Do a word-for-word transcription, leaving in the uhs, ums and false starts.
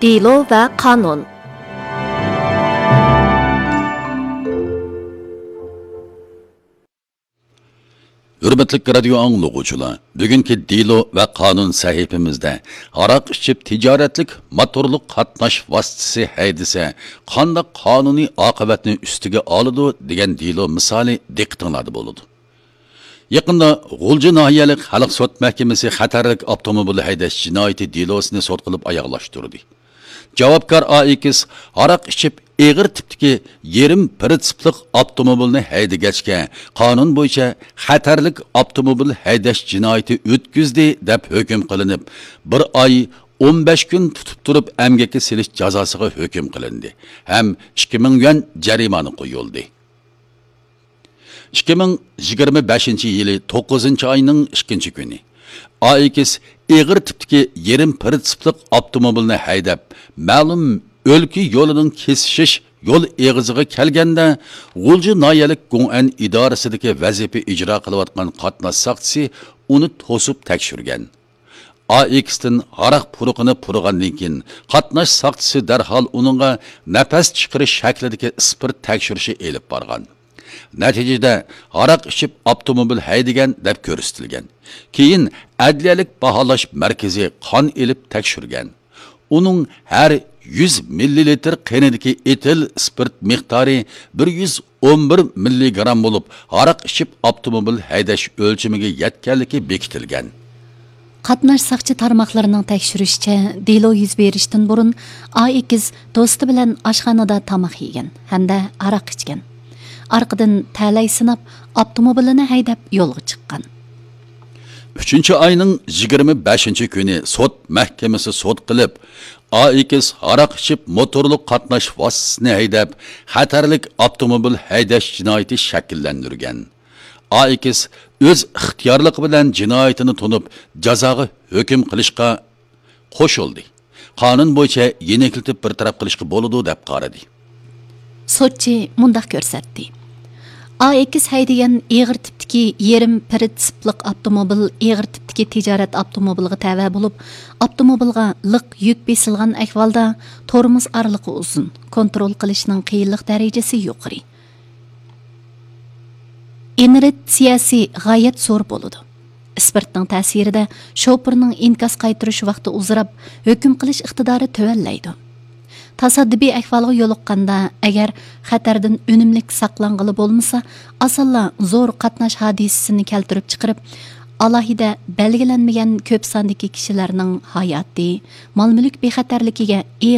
دېلو ۋە قانۇن. ھۆرمەتلىك رادىيو ئاڭلىغۇچىلار، بۈگۈنكى دېلو ۋە قانۇن سەھىپىمىزدە ھاراق ئىچىپ تىجارەتلىك موتورلۇق قاتناش ۋاسىتىسى ھەيدىسە، قانداق قانۇنىي ئاقىۋەتنى ئۈستىگە ئالىدۇ دېگەن دېلو مىسالى دىققىتىڭلاردا بولىدۇ. يېقىندا غۇلجا ناھىيەلىك خەلق سوت مەھكىمىسى خەتەرلىك ئاپتوموبىل ھەيدەش جىنايىتى دېلوسىنى سوت قىلىپ ئاياغلاشتۇردى. جاۋابكار ئا ئېكس ھاراق ئىچىپ ئېغىر تىپتىكى يېرىم پىرىتسىپلىق ئاپتوموبىلنى ھەيدىگەچكە، قانۇن بويىچە خەتەرلىك ئاپتوموبىل ھەيدەش جىنايىتى ئۆتكۈزدى دەپ ھۆكۈم قىلىنىپ، بىر ئاي ئون بەش كۈن تۇتۇپ تۇرۇپ ئەمگەككە سېلىش جازاسىغا ھۆكۈم قىلىندى ھەم ئىككى مىڭ يۈەن جەرىمانە قويۇلدى. ئىككى مىڭ يىگىرمە بەشىنچى يىلى توققۇزىنچى ئاينىڭ ئىككىنچى كۈنى ئا ئېكس ئېغىر تىپتىكى يېرىم پىرىتسىپلىق ئاپتوموبىلنى ھەيدەپ، مەلۇم ئۆلكە يولىنىڭ كېسىشىش يول ئېغىزىغا كەلگەندە، غۇلجا ناھىيەلىك گوڭئەن ئىدارىسىدىكى ۋەزىپە ئىجرا قىلىۋاتقان قاتناش ساقچىسى ئۇنى توسۇپ تەكشۈرگەن. ئا ئېكستىن ھاراق پۇرىقىنى پۇرىغاندىن كېيىن، قاتناش ساقچىسى دەرھال ئۇنىڭغا نەپەس چىقىرىش شەكلىدىكى ئىسپىرت تەكشۈرۈشى ئېلىپ بارغان. نەتىجىدە، ھاراق ئىچىپ ئاپتوموبىل ھەيدىگەن دەپ كۆرسىتىلگەن. كېيىن ئەدلىيەلىك باھالاش مەركىزى قان ئېلىپ تەكشۈرگەن. ئۇنىڭ ھەر يۈز مىللىلىتىر قېنىدىكى ئېتىل ئىسپىرت مىقدارى بىر يۈز ئون بىر مىللىگرام بولۇپ، ھاراق ئىچىپ ئاپتوموبىل ھەيدەش ئۆلچىمىگە يەتكەنلىكى بېكىتىلگەن. قاتناش ساقچى تارماقلىرىنىڭ تەكشۈرۈشىچە، دېلو يۈز بېرىشتىن بۇرۇن ئا ئېكس دوستى بىلەن ئاشخانىدا تاماق يېگەن ھەمدە ھاراق ئىچكەن. ئارقىدىن تەلەي سىناپ، ئاپتوموبىلىنى ھەيدەپ يولغا چىققان. ئۈچىنچى ئاينىڭ يىگىرمە بەشىنچى كۈنى سوت مەھكىمىسى سوت قىلىپ، ئا ئېكس ھاراق ئىچىپ موتورلۇق قاتناش ۋاسىتىسىنى ھەيدەپ، خەتەرلىك ئاپتوموبىل ھەيدەش جىنايىتى شەكىللەندۈرگەن. ئا ئېكس ئۆز ئىختىيارلىقى بىلەن جىنايىتىنى تونۇپ، جازاغا ھۆكۈم قىلىشقا قوشۇلدى. قانۇن بويىچە يېنىكلىتىپ بىر تەرەپ قىلىشقا بولىدۇ، دەپ قارىدى. سوتچى مۇنداق كۆرسەتتى. ئا ئېكس ھەيدىگەن ئېغىر تىپتىكى يېرىم پىرىتسىپلىق ئاپتوموبىل ئېغىر تىپتىكى تىجارەت ئاپتوموبىلىغا تەۋە بولۇپ، ئاپتوموبىلغا لىق يۈك بېسىلغان ئەھۋالدا تورمۇز ئارىلىقى ئۇزۇن، كونترول قىلىشنىڭ قىيىنلىق دەرىجىسى يۇقىرى. ئىنېرتسىيەسى غايەت زور بولىدۇ. ئىسپىرتنىڭ تەسىرىدە شوپۇرنىڭ ئىنكاس قايتۇرۇش ۋاقتى ئۇزىراپ، ھۆكۈم قىلىش ئىقتىدارى تۆۋەنلەيدۇ. تاسادىپىي ئەھۋالغا يولۇققاندا، ئەگەر خەتەردىن ئۈنۈملۈك ساقلانغىلى بولمىسا، ئاسانلا زور قاتناش ھادىسىسىنى كەلتۈرۈپ چىقىرىپ، ئالاھىدە بەلگىلەنمىگەن كۆپ ساندىكى كىشىلەرنىڭ ھاياتى، مال-مۈلۈك بىخەتەرلىكىگە ئېغىر